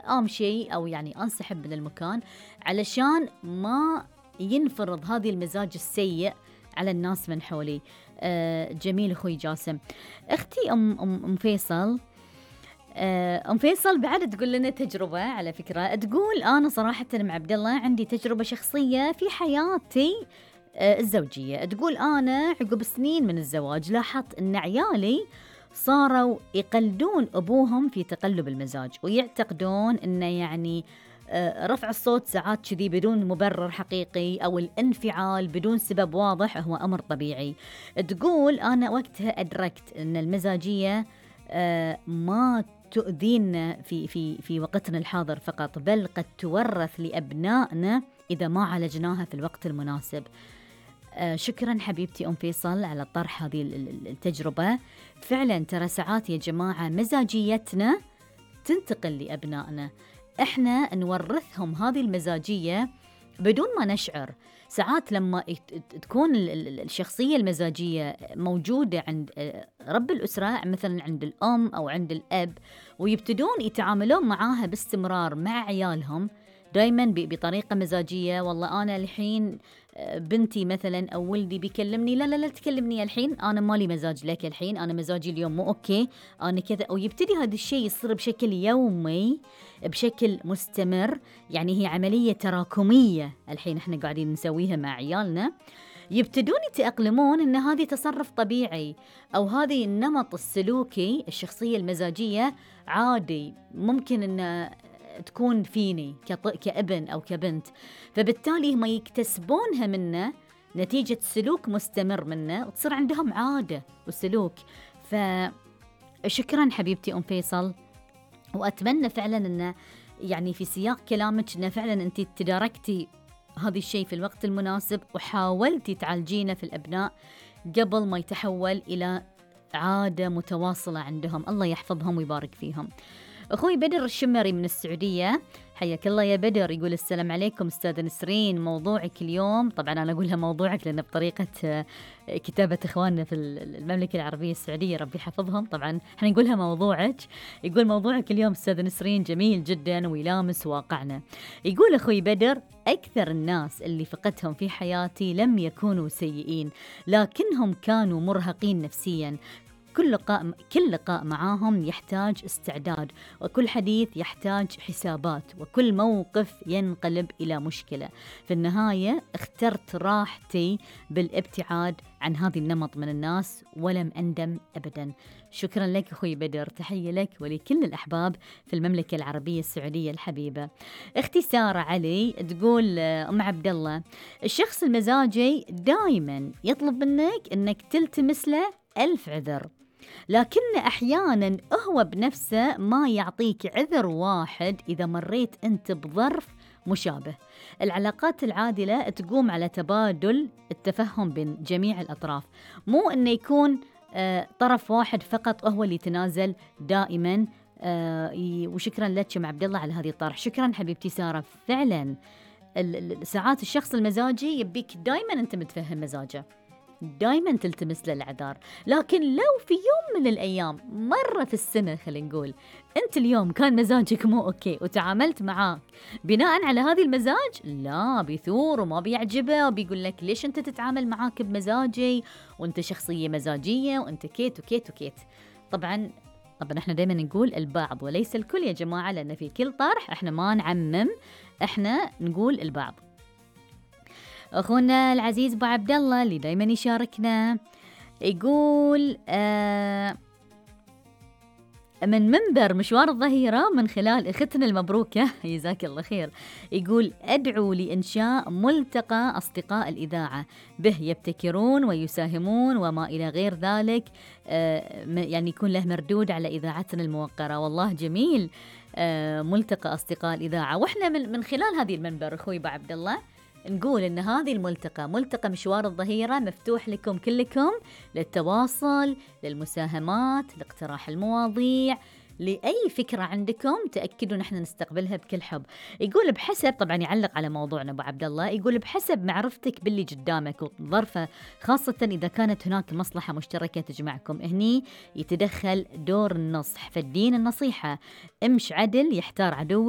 أمشي أو يعني أنسحب من المكان علشان ما ينفرض هذه المزاج السيء على الناس من حولي. جميل أخوي جاسم. أختي أم فيصل، أم فيصل بعد تقول لنا تجربة على فكرة، تقول أنا صراحة مع عبد الله عندي تجربة شخصية في حياتي الزوجية. تقول أنا عقب سنين من الزواج لاحظت أن عيالي صاروا يقلدون أبوهم في تقلب المزاج، ويعتقدون أنه يعني رفع الصوت ساعات كذي بدون مبرر حقيقي أو الانفعال بدون سبب واضح هو أمر طبيعي. تقول أنا وقتها أدركت أن المزاجية ما تؤذينا في وقتنا الحاضر فقط، بل قد تورث لأبنائنا إذا ما عالجناها في الوقت المناسب. شكرا حبيبتي أم فيصل على طرح هذه التجربة. فعلا ترى ساعات يا جماعة مزاجيتنا تنتقل لأبنائنا، إحنا نورثهم هذه المزاجية بدون ما نشعر. ساعات لما تكون الشخصية المزاجية موجودة عند رب الأسرة مثلا عند الأم أو عند الأب، ويبتدون يتعاملون معاها باستمرار مع عيالهم دايما بطريقة مزاجية، والله أنا الحين بنتي مثلا أو ولدي بيكلمني لا تكلمني الحين، أنا مالي مزاج لك الحين، أنا مزاجي اليوم مو أوكي، أنا كذا. ويبتدي هذا الشيء يصير بشكل يومي بشكل مستمر، يعني هي عملية تراكمية الحين احنا قاعدين نسويها مع عيالنا. يبتدون يتأقلمون إن هذه تصرف طبيعي أو هذه النمط السلوكي الشخصية المزاجية عادي ممكن إن تكون فيني كابن أو كبنت، فبالتالي هم يكتسبونها منه نتيجة سلوك مستمر منه وتصير عندهم عادة وسلوك. فشكرا حبيبتي أم فيصل، وأتمنى فعلا أن يعني في سياق كلامك أن فعلا أنت تداركتي هذا الشيء في الوقت المناسب وحاولتي تعالجينه في الأبناء قبل ما يتحول إلى عادة متواصلة عندهم. الله يحفظهم ويبارك فيهم. أخوي بدر الشمري من السعودية، حياك الله يا بدر، يقول السلام عليكم أستاذة نسرين، موضوعك اليوم، طبعا أنا أقولها موضوعك لأن بطريقة كتابة إخواننا في المملكة العربية السعودية ربي حفظهم، طبعا احنا نقولها موضوعك. يقول موضوعك اليوم أستاذة نسرين جميل جدا ويلامس واقعنا. يقول أخوي بدر أكثر الناس اللي فقدتهم في حياتي لم يكونوا سيئين، لكنهم كانوا مرهقين نفسيا. كل لقاء معاهم يحتاج استعداد، وكل حديث يحتاج حسابات، وكل موقف ينقلب إلى مشكلة. في النهاية اخترت راحتي بالابتعاد عن هذه النمط من الناس ولم أندم أبدا. شكرا لك أخوي بدر، تحية لك ولكل الأحباب في المملكة العربية السعودية الحبيبة. اختي سارة علي تقول أم عبد الله الشخص المزاجي دائما يطلب منك أنك تلتمس له 1000 عذر، لكن أحياناً هو بنفسه ما يعطيك عذر واحد إذا مريت أنت بظرف مشابه. العلاقات العادلة تقوم على تبادل التفهم بين جميع الأطراف، مو أنه يكون طرف واحد فقط هو اللي يتنازل دائماً. وشكراً لك يا عبد الله على هذه الطرح. شكراً حبيبتي سارة. فعلاً ساعات الشخص المزاجي يبيك دائماً أنت متفهم مزاجه، دايما تلتمس له العذار، لكن لو في يوم من الأيام مرة في السنة خلينا نقول أنت اليوم كان مزاجك مو أوكي وتعاملت معاه بناء على هذه المزاج، لا بيثور وما بيعجبه وبيقول لك ليش أنت تتعامل معاك بمزاجي وأنت شخصية مزاجية وأنت كيت وكيت وكيت. طبعا احنا دايما نقول البعض وليس الكل يا جماعة، لأن في كل طرح احنا ما نعمم، احنا نقول البعض. أخونا العزيز أبو عبد الله اللي دايما يشاركنا يقول من منبر مشوار الظهيرة من خلال أختنا المبروكة جزاك الله خير، يقول أدعو لإنشاء ملتقى أصدقاء الإذاعة به يبتكرون ويساهمون وما إلى غير ذلك، يعني يكون له مردود على إذاعتنا الموقرة. والله جميل ملتقى أصدقاء الإذاعة. وإحنا من خلال هذه المنبر أخوي أبو عبد الله نقول إن هذه ملتقى مشوار الظهيرة مفتوح لكم كلكم للتواصل، للمساهمات، لاقتراح المواضيع، لأي فكرة عندكم تأكدوا نحن نستقبلها بكل حب. يقول بحسب، طبعا يعلق على موضوعنا أبو عبد الله، يقول بحسب معرفتك باللي قدامك وظرفه، خاصة إذا كانت هناك مصلحة مشتركة تجمعكم، هني يتدخل دور النصح، فالدين النصيحة، امش عدل يحتار عدوك